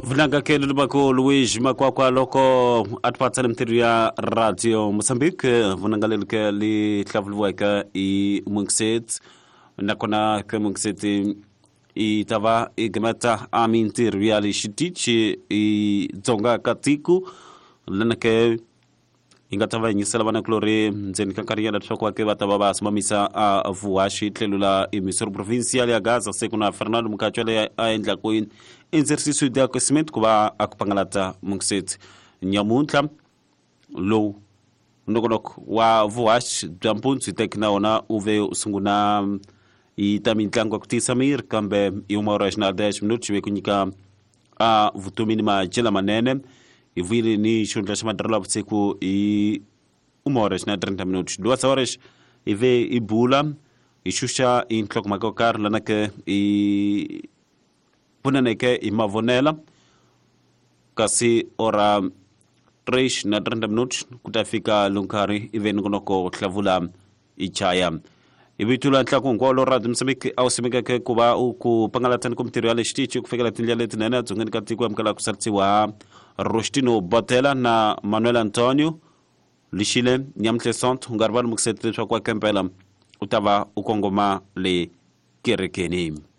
Vunanga ke lulubako Luis Makwakwa loko a tipatsela mintirho ya Radio Mozambique. Vunanga leri ke li hlavuliweke i Mungisetsi, nakona ke Mungisetsi i ta va i gimeta a mintirho ya le xitichi i dzonga ka tiko lena ke yi nga ta va yinyisela vanakulorhi ndzeni ka nkarhinyana leswaku vake va ta va va simamisa a vuhaxi tlhelo la emissouri provincial ya Gaza se ku na Fernando Mukatshwa leyi a endlaku indzerisiso ya cement ku va a ku pangalata Mungisetsi nyamuntlha lowu nongonoko wa vuhaxi bya mpundzu hi teki na wona u ve u sungula yi ta mitlangu ya ku tiyisa miri kambe hi uma ora xina 10 minuti xi ve ku nyika a vutomi ni madyela manene hi vuyile ni xihundla xa madirelo ya vusiku hi uma ora xina 30 minuti duas horas hi ve hi bula hi xuxa hi nhlokomhaka yo karhi lana ke hi pfunaneke hi mavonela kasi ora 3 na 30 minuti ku ta fika lunkarhi ive nongonoko hlavula i chaya hi vito la ntlhaku hinkwawo lo Radio Mozambique a wu simekeke ku va u ku pangalatani ku mintirho ya le xitichi ku fikela tindlela letinene edzongeni ka tiko amukela ku sarisiwa Rostino Botela na Manuel Antonio Lixile Nyamuhle Sonto u nga rivali mukiseti leswaku wa kempela u ta va u kongoma le kerekeni.